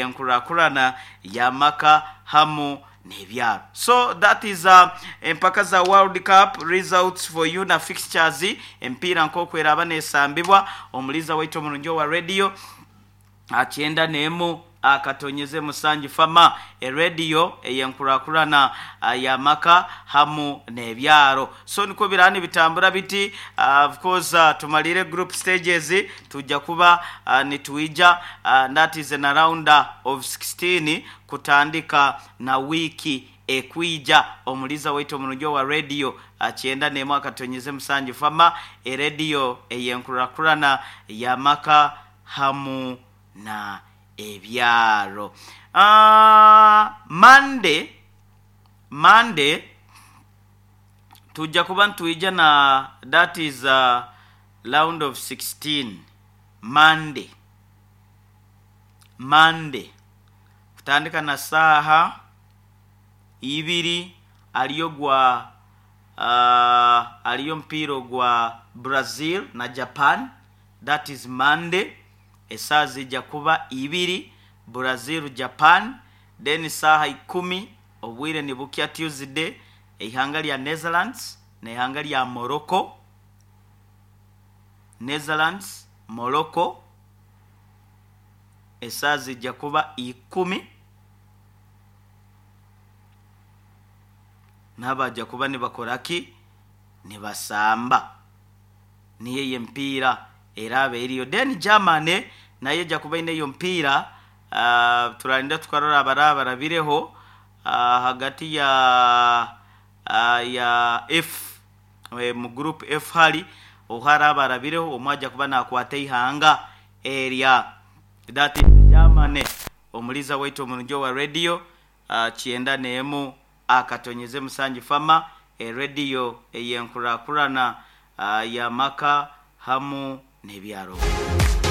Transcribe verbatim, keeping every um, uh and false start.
Enkurakurana y'amaka hamu n'ebyaro. So that is uh, empaka za World Cup results for you na fixtures, empiira nk'oku nesambibwa. Omuliza waitu omurungi owa radio akyenda n'emu akatonyeze musanju fama, erediyo eyenkurakurana y'amaka hamu n'ebyaro. So nikwo birani bitambura biti. uh, of course uh, tumalire group stages, tujja kuba uh, nituija uh, that is in a round of sixteen kutandika na wiki ekwija. Omuliza waitu omurungi wa radio akyenda n'emu akatonyeze musanju fama, erediyo eyenkurakurana y'amaka hamu na ebyaro. uh, Monday Monday tujja kuba nitwija na that is uh, round of sixteen. Monday Monday kutandika na saaha ibiri aliyo gwa uh, aliyo mpira gwa Brazil na Japan. That is Monday, esaaha zijja kuba ibiri, Brazil Japan. Then saaha ikumi obwire nibukya Tuesday, eihanga lya Netherlands neihanga lya Morocco. Netherlands Morocco, esaaha zijja kuba ikumi, nabajja kuba nibakoraki, nibasamba niyo eyo empiira eraba eriyo. Then Germany nayo ejja kuba ine eyo mpiira. uh, turalinda tukarora abaraba barabireho uh, hagati ya uh, ya F, e, mu group F hali oharaba arabireho omwe ajja kuba nakwata ihanga erya that is Germany. Omuliza waitu omurungi wa radio uh, kyenda n'emu akatonyeze musanju fama, erediyo eyenkurakurana uh, y'amaka hamu n'ebyaro.